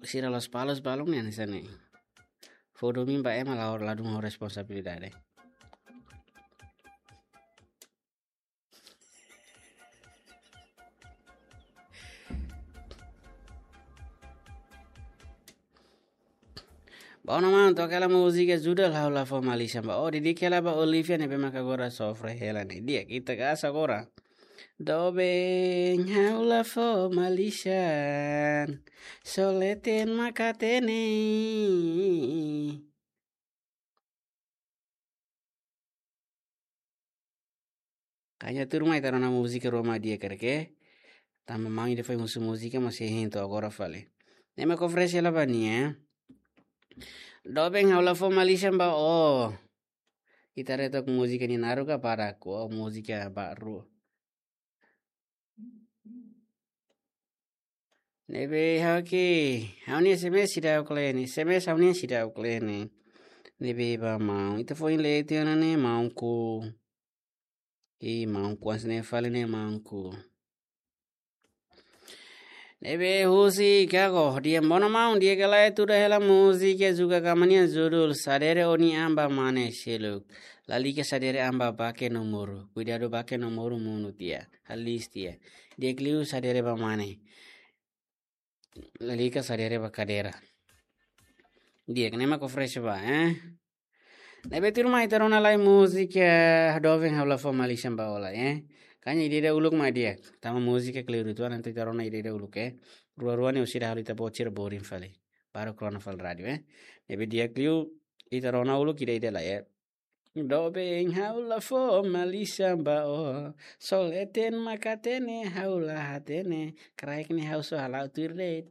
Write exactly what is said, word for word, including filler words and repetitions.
sira la'ós palus balun nian hanesan ne'e. Fó domin ba ema, la, ladún ha'u responsabilidade. Bom, maun, toka hela múzika judul Ha'u La Fó Malisan Ba Ó, dedika hela ba Olivia ne'ebé maka agora sofre hela ne'e. Di'ak, ita kasa agora. Doben, ha'u la fó malisan, só leten mak hatene. Kanya tuur mai ita rona múzika rua mak di'ak karik. Tanba maun ida foin husu múzika, mas hein to'o agora fali. Ne'e mak oferese hela ba nia. Doben, ha'u la fó malisan ba ó. Ita haree took múzika nia naruk ka badak, ó múzika baru. Ne'ebé ha'u ke, ha'u-nia S M S seidauk lee ne'e, S M S ha'u-nian seidauk lee ne'e. Ne'ebé ba maun, ita foin lee tiha ona ne'e maunku. I maunku, hanesan ne'e fali ne'e maunku. Ne'ebé husi Kago, di'ak, bom maun, di'ak ka lae, tuda hela múzika Zuka Kama nian judul Sadere Ó-nia An ba Mane Seluk. Lalika sadere an ba bake no moru. Kuidadu bake no moru monu tiha. Haliis tiha. Di'ak liu sadere ba mane. Lalika sadere ba kadeira. Di'ak, ne'e mak oferese ba, eh? Ne'ebé tuur mai ita rona lai múzika, eh, Doben, ha'u la fó malisan ba ó lai, eh? Kanya ida-idak uluk mak di'ak. Tanba múzika kleur uitoan, entaun ita rona ida-idak uluk, eh? Rua-rua ne'e orsida halo ita-boot sira boring fali. Baru rona fali rádiu, eh? Ne'ebé di'ak liu ita rona uluk ida-idak lai, eh? Doben, ha'u la fó malisan ba ó, só leten mak hatene, ha'u la hatene, kraik ne'e ha'u só hala'o tuir de'it.